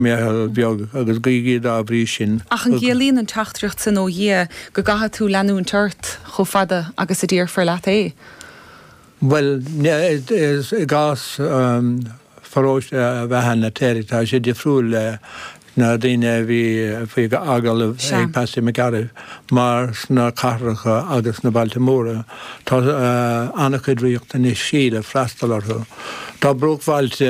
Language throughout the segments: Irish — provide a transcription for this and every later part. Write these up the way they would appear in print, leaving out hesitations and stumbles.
Meitheal bheag agus guígí dá bhrí sin Ach an gciallaíonn an teachtaireacht sin ó Dhia go gcaithfidh tú leanúint ort chomh fada agus a déarfar leat é? Bhuel, i gcás pharóiste Bheatha na Teirigh tá sé difriúil le na daoine a bhí faoi agallamh ag Patsy McGarry mar sna cathracha agus sna bailte móra tá an-chuid riachtanaisí le freastal orthu. Tá bruachbhailte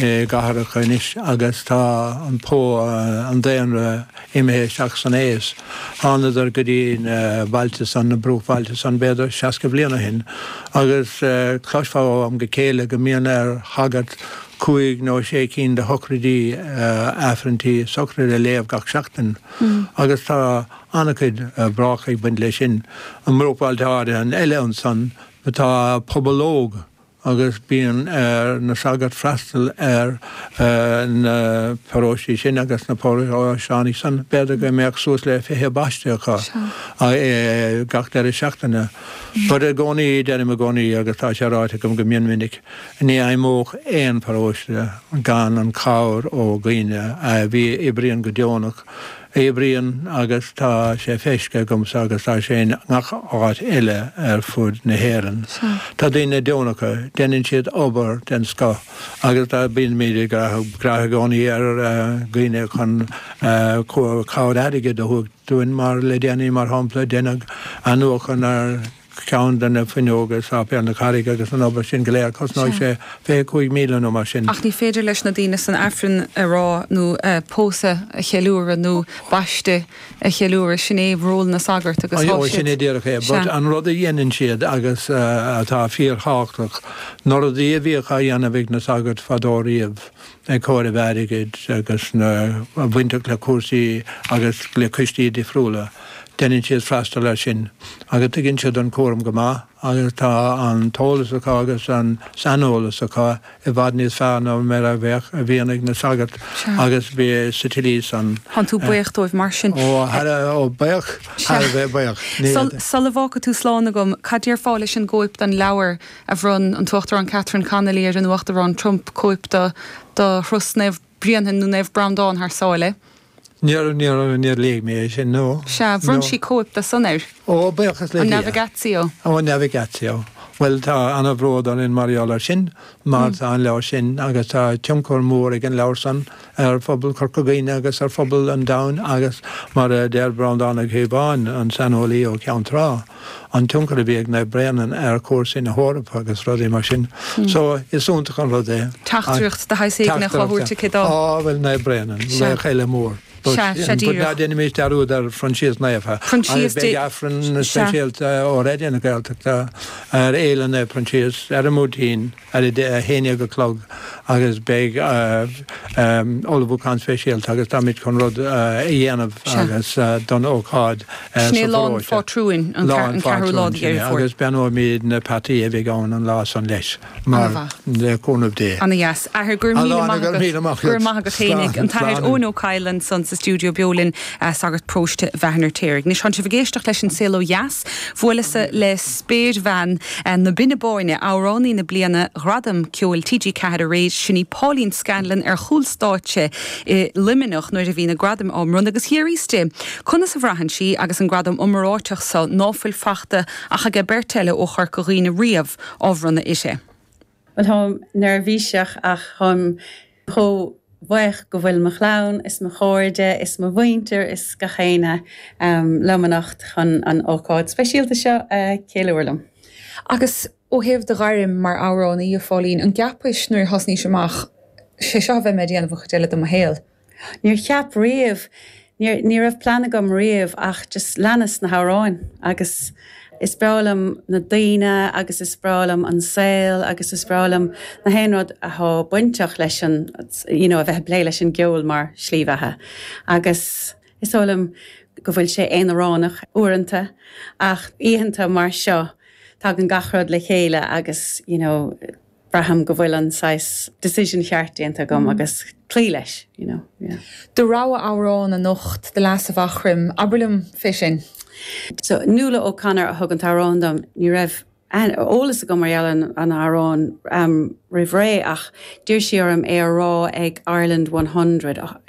i gcathracha anois agus tá an an daonra imithe isteach san aos. Thánadar go dtí na bailte san, na bruachbhailte san, b'fhéidir 60 bliain ó shin agus cloisfeá ó am go chéile go mbíonn ar shagart cúig nó sé cinn de shochraidí, aifrinntí sochraide a léamh gach seachtain agus tá an-chuid brách ag baint leis sin. I mbruachbhailte áirithe eile ansan tá pobal óg agus bíonn ar na sagairt freastal ar na paróistí sin agus na paróisteánaigh san. B'fhéidir go mbeadh suas le 20 baiste acu gach deireadh seachtaine. But i gcónaí, deirim i gcónaí agus tá sé ráite agam go mion minic, Ní fheidhmeodh aon pharóiste gan an chabhair ó dhaoine a bhí oibríonn go deonach, oibríonn agus tá sé feiscithe agamsa agus tá sé i ngach áit eile ar fud na hÉireann. Tá daoine deonacha, déanann siad obair den scoth agus tá bímid ag brath i gcónaí ar dhaoine chun cabhair airgid a thabhairt dúinn mar le déanaí mar shampla deineadh athnuachan ar ceann de na fuinneoga i Sáipéal na Carraige agus an obair sin go léir, cosnóidh sé 25,000 nó mar sin. Ach ní féidir leis na daoine san Aifreann a rá nó pósadh a cheiliúradh nó baiste a cheiliúradh, sin é ról na sagart agus tá siad. Sin é díreach é. But an rud a dhéanann siad agus atá fíorthábhachtach, na rudaí a bhíodh á dhéanamh ag na sagairt fadó riamh, ag comhaireamh airgid agus na bainteach le cúrsaí agus le coistí difriúla, Déanann siad freastal air sin agus tuigeann siad an cúram go maith agus tá an t-eolas acu agus an saineolas acu i bhfad níos fearr ná mar a bheadh, a bhíonn ag na sagairt agus bhí sa tslí san. Tánn tú buíoch dóibh mar sin. Ó, thar a, ó, buíoch, thar a bheith buíoch. Ní. Sula bhfágfaidh tú slán agam, cad déarfá leis an gcóip den leabhar a bhronn an tUachtarán Catherine Connolly ar an Uachtarán Trump, cóip de, de Thuras Naomh Bréanainn nó Naomh Breandán thar sáile? Níor, níor, níor léigh mé é sin, no. Sea, bhronn sí cóip de san air. Ó, buíochas le Dia. An Navigatio. Ó, an Navigatio. Bhuel, tá ana-bhród orainn mar gheall air sin, mar tá an leabhar sin, agus tá tionchar mór ag an leabhar san ar phobal Chorca Dhuibhne agus ar phobal an domhain agus mar a deir Breandán Ó Cíobháin, an saineolaí ó Cheann Trá, an tionchar a bhí ag Naomh Bréanainn ar chúrsaí na hEorpa agus rudaí mar sin. So, is iontach an rud é. Teachtaireacht de shaghas éigin á thabhairt aici dó. Á, bhuel, Naomh Bréanainn, laoch eile mór. Sea, sea díreach. But ná déanaimis dearúd ar Phroinsias Naofa. Proinsias Dé. Beidh Aifreann speisialta ó Raidió na Gaeltachta ar Fhéile Naomh Proinsias ar an mBuailtín ar a 11 a chlog agus beidh ullmhúchán speisialta agus táimid chun rud a dhéanamh agus don ócáid sa Sin é Lá an Phátrúin, an ceathrú lá de Dheireadh Fómhair. Agus beannóimid na peataí a bheidh ann an lá san leis. Mar le cúnamh Dé. Ana dheas. Athair, go raibh míle maith agat. Go raibh maith agat fhéinig. An tAthair Eoin Ó Cadhla ansan sa stiúideo beo linn, sagart paróiste Bheatha an Fheirtéaraigh. Anois tánn sibh ag éisteacht leis An Saol Ó Dheas. Bhuaileas-sa le spéirbhean na Binne Báine, amhránaí na bliana Ghradam Ceoil TG4 aréir, sin í Pauline Scanlon ar chúl stáitse i Luimneach nuair a bhí na gradaim á mbronnadh agus d'fhiafraíos di conas a bhraitheann sí agus an gradam iomráiteach so ná fuil fachta ach aige beirt eile ó Chorca Dhuibhne riamh. á bhronnadh uirthi. Bhuel, táim neirbhíseach ach táim chomh buíoch go bhfuil mo chlann is mo chairde is mo mhuintir is gach éinne liom anocht chun an ócáid speisialta seo a cheiliúradh liom. Agus ó thaobh do ghairm mar amhránaí, a Phauline, an gceapais nuair a thosnaís amach, 'sé seo a bheidh mé a dhéanamh an chuid eile de mo shaol? Níor cheap riamh, níor, ní raibh plean agam riamh ach just leanas na hamhráin agus is breá liom na daoine agus is breá liom an saol agus is breá liom na haon rud athá bainteach leis an, you know, a bheith ag plé leis an gceol mar shlí bheatha agus is dóigh liom go bhfuil sé aonaránach uaireanta ach oícheanta mar seo tagann gach rud le chéile agus, you know, braithim go bhfuil an saghas decision cheart déanta agam agus cloí leis, you know, yeah. Do rogha amhrán anocht, The Lass of Aughrim, abair liom fé sin. So, Nuala O'Connor a thug an t-amhrán dom, ní raibh. eolas agam mar gheall ar an amhrán roimh ré ach d'iarr sí orm é a rá ag Ireland 100.